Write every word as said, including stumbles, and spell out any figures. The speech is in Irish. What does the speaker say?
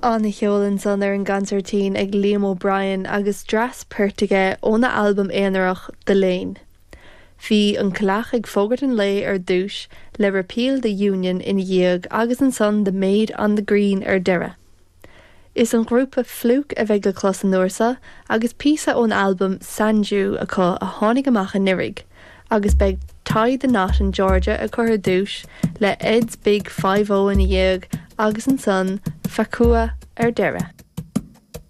An-cheol ansan ar an gconsairtín ag Liam O'Brien agus dreas poirt aige óna albam aonarach The Lane. Bhí an Coileach ag fógairt an lae ar dtús le Repeal the Union ina dhiaidh agus ansan The Maid on the Green ar deireadh. Is an grúpa Flook a bheidh le clos an uair seo agus píosa ón albam Sanju acu a tháinig amach anuraidh, agus beidh Tie the Knot in Georgia a chur ar dtús le Ed's Big Five O ina dhiaidh agus ansan Facua ar deireadh.